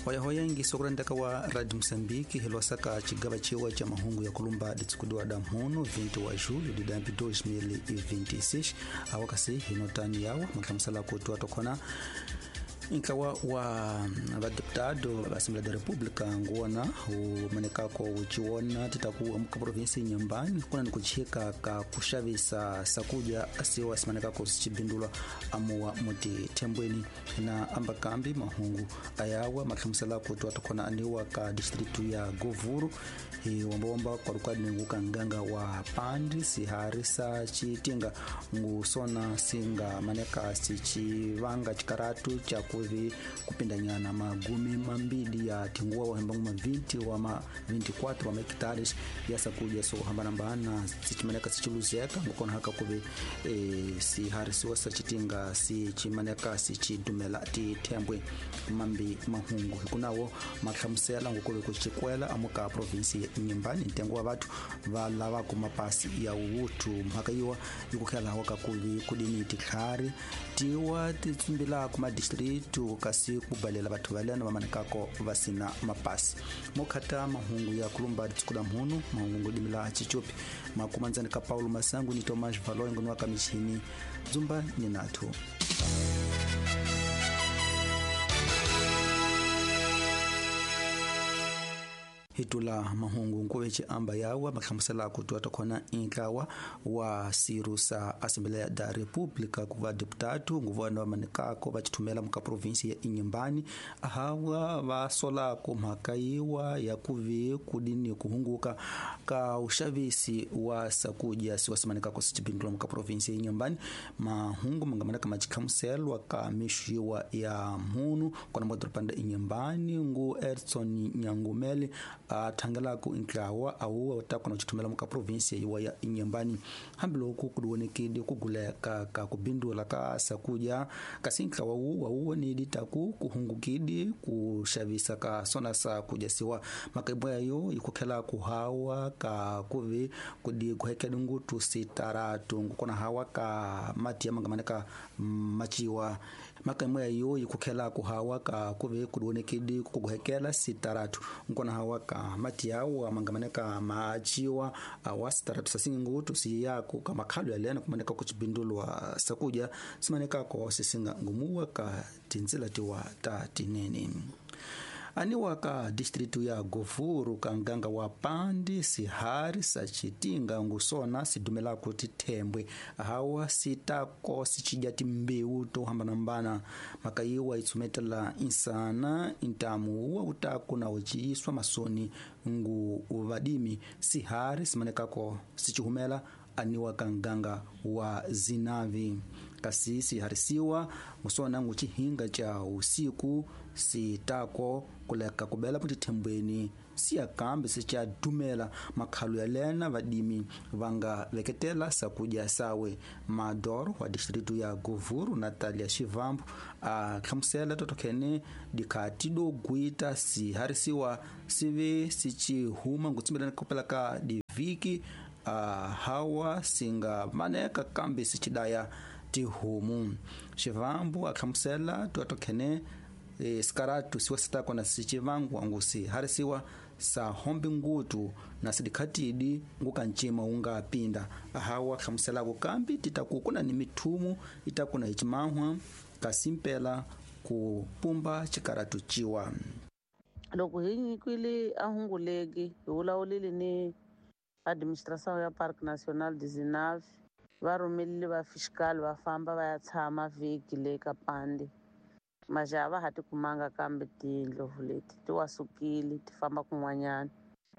Hoyahoya ngisokulendeka wa Radio Moçambique hilosaka cigaba ciwa ca mahungu ya kulumba ditsikudiwa da mhunu 20 wa julho de dambi 2026 awakasi hinotani yawa mahlamusela kuti watokhona ntlawa wa vadeputado va Assembleia da República nguwona wumanekako wuciwona titaku amuka provinsi Inhambane kuna ni kuchika ka kuxavisa sakudya asiwa simanekako sicibindulwa amuwa muti thembweni na ambakambi mahungu ayawa mahlamusela kuti watokhona aniwa ka distritu ya Govuro hi wambawamba kwalukwadi nguka nganga wa pandi sihari sa citinga ngusona singa maneka sicivanga cikaratu ca kuvi kupindanyana magumi mambili ya tinguwa wahembangu ma 20 wa ma 24 wa hectares ya sakuja so hambanambana sichimaneka sichiluzeka ngukona haka kuvi siharisiwa sachitinga sichimaneka sichidumela tithembwe mambi mahungu hikunawo mahlamusela ngukuve kuchikwela amuka provinsi ya Inhambane ntengo wa vathu va lavaku mapasi ya wuthu mhaka yiwa ikukhelawa kakuvi kudini titlhari tiwa titsumbilaku madistritu kasi kubalela vathu valena vamanekako vasina mapasi mokhata mahungu ya kulumba ditsukuda mhunu mahungu ngudimila chichupi makumanzani ka Paulo Masangu ni Tomás Valoy ngoni wa kamichini dzumba ni nathu. Hitula mahungu nkuve amba yawa mahlamusela kuti watokhona intlawa wa siru sa Assembleia da República kuva deputatu nguvana vamanekako vacithumela muka provinsi ya Inhambane ahawa vasolako mhaka yiwa ya kuvi kudini kuhunguka ka uxavisi wa sakudya siwasimanekako sicibindula muka provinsi ya Inhambane mahungu mangamaneka macihlamuselwa ka mixo yiwa ya mhunu kona modropanda Inhambane ngu Edson Nyangumele athangelaku ntlawa awuwa takona kucithumela muka provinsi yiwa ya Inhambane hambiloko kudiwonekile kuguleka ka kubindula ka sakudya kasi ntlawa wuwa wuwonedi taku kuhungukidi kuxavisa ka sona sakudya siwa makaibwa yayo ikukhela kuhawa ka kuvi kudi kuhekela ngutu sitaratu ngukona hawa ka mati ya mangamaneka maciwa makaimwe yayo ikukhela kuhawa ka kuvi kudiwonekidi kuguhekela sitaratu ngukona hawa ka mati yawo amangamaneka maachiwa awa sitaratu sasinga ngutu siyako ka makhalo yalena kumaneka kucibindulwa sakudya simanekako sisinga ngumuwa ka tinzila tiwa ta tinene aniwa ka distritu ya Govuro ka nganga wa pandi sihari sacitinga ngusona sidumelako tithembwe hawa sitako sicidya timbewu to hambanambana maka yiwa itsumetela insana intamu wa utaku na uciiswa masoni ngu vadimi sihari simanekako sicihumela aniwa ka nganga wa Zinavi kasi siharisiwa ngusona ngucihinga ca usiku sitako kuleka kubela mutithembweni siyakambe sicadumela makhalo yalena vadimi vanga veketela sakudya sawe madoro wa distritu ya Govuro Natalia Shivambu a hlamusela totokhene dikhati do gwita siharisiwa sive sicihuma ngutsumbelana kopela ka diviki hawa singa maneka kambe sicidaya tihomu Shivambu a hlamusela totokhene sikaratu siwa sitako na sicivangwa ngusi harisiwa sa hombi ngutu na sidikhatidi ngukancima unga pinda ahawa hlamuselako kambi titaku kuna ni mithumu itakuna icimahwa kasimpela ku pumba cikaratu ciwa. Loko hi nyikwile a hunguleki hi vulavulile ni administração ya Parque Nacional de Zinave va rhumelile va fiscal va famba va ya tshama vhiki le ka pandi majaha va ha ti kumanga kambe tindlovu leti ti wasukile ti famba kun'wanyana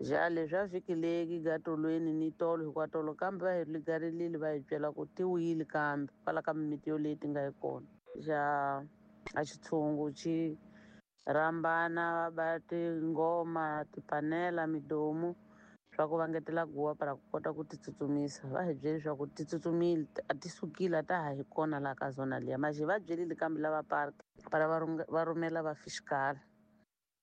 ja leswi a vhiki leki gatolweni ni tolo hikwatolo kambe va hi ligarilile va hi byela ku ti wile kambe kwala ka mimiti yoleyi ti nga yi kona ja a xitshungu xi rhambana va ba tingoma tipanela midomu swa ku vangetela guwa para ku kota ku ti tsutsumisa va hi byele leswaku ti tsutsumile a ti sukile a ta ha hi kona laha ka zona liya maje va byelile kambe lava park para va rhumela va fiscal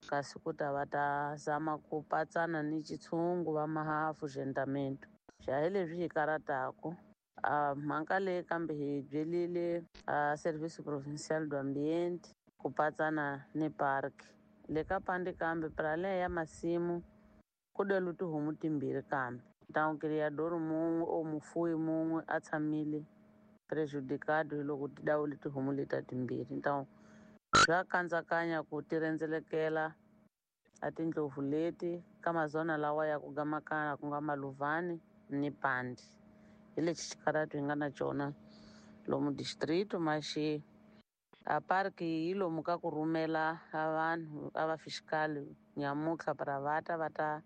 kasi ku ta va ta zama ku patsana ni xitshungu va mahafu gentamento xa hi leswi hi karataku a mhaka leyi kambe hi byelile a service provincial do ambiente ku patsana ni park Le ka Pande kambe para além ya masimu ku delu tihomu timbirhi kambe então criador mun'we o mufuwi mun'we a tshamile prejudicado hi loko ti dawule tihomu leta timbirhi. Então swa kandzakanya ku ti rhendzelekela a tindlopfu leti ka mazona lawa ya ku gamakana ku nga Maluvani ni Pande. Hi lexi xikarhatu hi nga na cona lomu distrito maxi a park yi lomu ka ku rhumela a vanhu a va fiscal nyamutlha para va ta va ta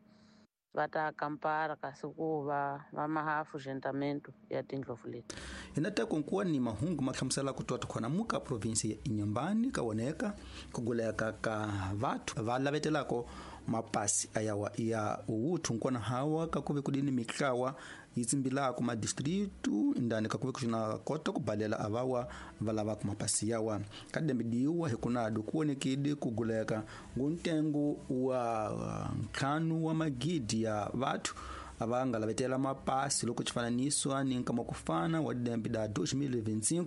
va ta kampara kasi ku va va mahafu gentamento ya tindlopfu leti. Hi na teko nkuwa ni mahungu ma hlamusela ku twa tikhona muka provinsi ya Inhambane ka woneka ku guleka ka vathu va lavetelako mapasi ayawa ya uwuthu nkona hawa ka kuve kudini mitlawa yi tsimbilako madistritu ndani ka kuve kuxina kota ku balela avawa va lavaka mapasi yawa ka dembidiwa hi kunadu ku vonekile ku guleka nguntengo wa ntlhanu wa magidi ya vathu ava nga lavetela mapasi loko xifananiso ni nkama ku fana wa dembi da 2025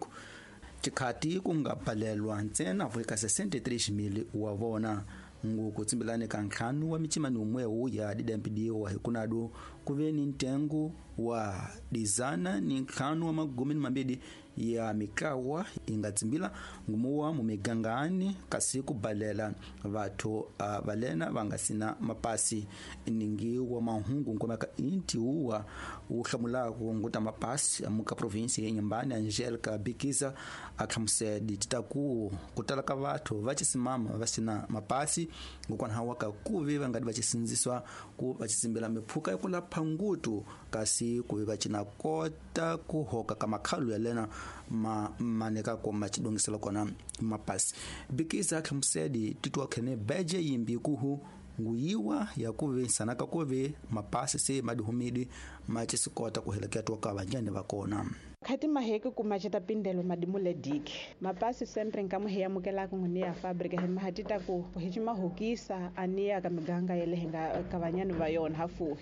tikhati ku nga balelwa ntsena eka 63,000 wa vona. Nguku tsimbilani ka ntlhanu wa micimani umwewu ya didambidiwa hi kunadu ku ve ni ntengo wa dizana ni ntlhanu wa magumi ni mambiri ya mikawa yi nga tsimbila ngumuwa mu migangani kasi ku balela vathu valena va nga sina mapasi. Ningi wa mahungu nkomeka inti uwa wu hlamulaka nguta mapasi amuka provinsi ya Inhambane Angelica Bikiza a hlamusela tita ku tala ka vathu va chisimama va sina mapasi ngokwanaha ka kuve va nga di va chisindziswa ku va chisimbila mipfhuka ya ku lapha ngutu kasi kuve va cina kota ku hoka ka makhalu ya lena ma maneka ko ma chidongisela kona mapasi. Bikiza hlamusela titwa khene beje yimbi kuhu nguyiwa ya kuve sanaka kuve mapasi se madihumidi ma chisikota ku heleketwa ka vanjani va kona. Khati maheke kuma chita pindelo madimu le diki mapasi sempre nkamu hi amukelaka nguni ya fabrika hi mahatita ku hi chimahokisa aniya ka miganga ya le nga ka vanyani va yona hafu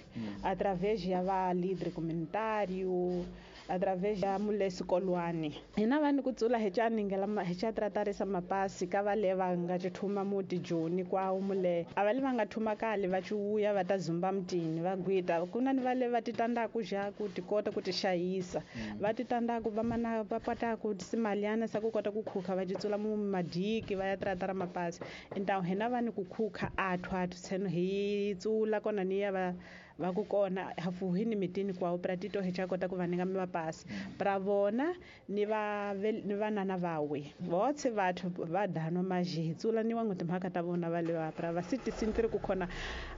através ya va líder comunitário através ya mulesi kolwani hina vanhu ku tsula hi chaningela hi cha tratarisa mapasi ka va le va nga chithuma muti joni kwawo mule a va le va nga thuma kale va chuya va ta zumba mutini va gwita kuna ni va le va titandaku ja ku tikota ku tixayisa va titandaku va mana va pataku simaliana sa ku kota ku khukha va titsula mu madiki va ya tratara mapasi então hina vanhu ku khukha athu athu tseno hi tsula kona ni ya va va ku kona hafuhi ni mitini kwawo pra tito hi cha kota ku va ninga mapasi pra vona ni va ni vanana vawe votse vathu va dano maji hi tsula ni wangu timhaka ta vona va le va pra va siti sintiri ku khona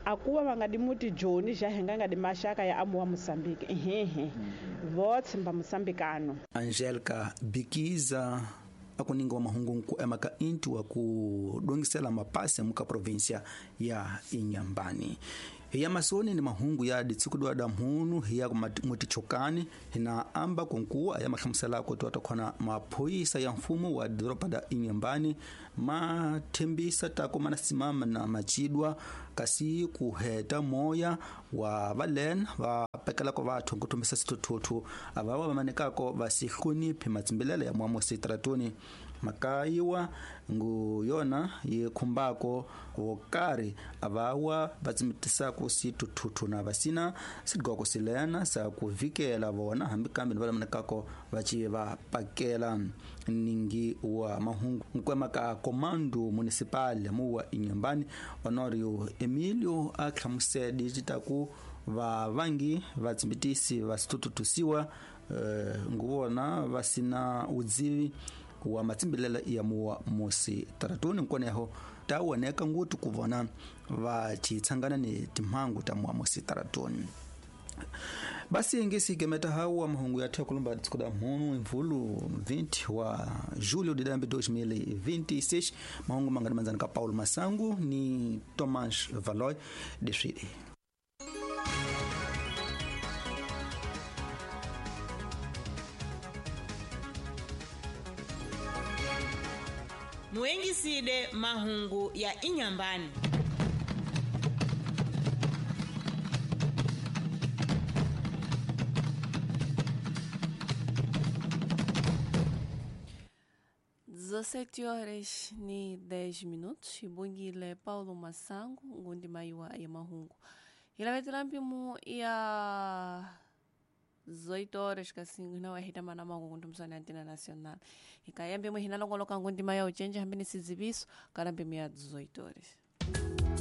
akuva va nga di muti joni ja hi nga nga di maxaka ya amuwa Mozambique ehehe votse mba Mozambicano. Angelica Bikiza akuninga wa mahungu nku emaka inti wa ku dongisela mapasi muka provincia ya Inhambane. Hiya masoni ni mahungu ya ditsikudwa da mhunu hiya mutichokani hina amba kunkuwa ya mahlamusela ko twata khona maphoyisa ya mfumo wa doroba da Inhambane mathembisa tako mana simama na machidwa kasi ku heta moya wa valen va pekela ko vathu ku tumbisa sithuthuthu ava va manekako va sihloniphi matsimbilele ya mwamo sitratoni makayiwa ngu yona yi khumbako vokari avawa va tsimbitisako sithuthuthu na vasina sidgoko silena sa ku vikela vona hambi kambe ni va manekako va ci va pakela. Ningi wa mahungu nkwema ka comando municipal muwa Inhambane Honorio Emilio a hlamusela titaku va vangi va tsimbitisi va sithuthusiwa nguvona va sina udzivi wa matsimbilela ya muwa musi taratuni nkoneho ta woneka ngutu ku vona va chitsangana ni timhangu ta muwa musi taratuni. Basi ngisi gemeta hawa mahungu ya thekulumba tsikuda mhunu imvulu 20 wa julho de 2026 mahungu mangani manzani ka Paulo Masangu ni Thomas Valoy desfile. Muengiside mahungu ya Inhambane. 17 horas ni 10 minutos ibungile Paulo Masango ngundi maiwa ya mahungu hilavetela mpimo ya 18 horas kasingu hina wahita mana mangu kundu msoni antena nacional ikaya mpimo hinalongoloka ngundi maya uchenja hambini sizibiso kala mpimo ya 18 horas.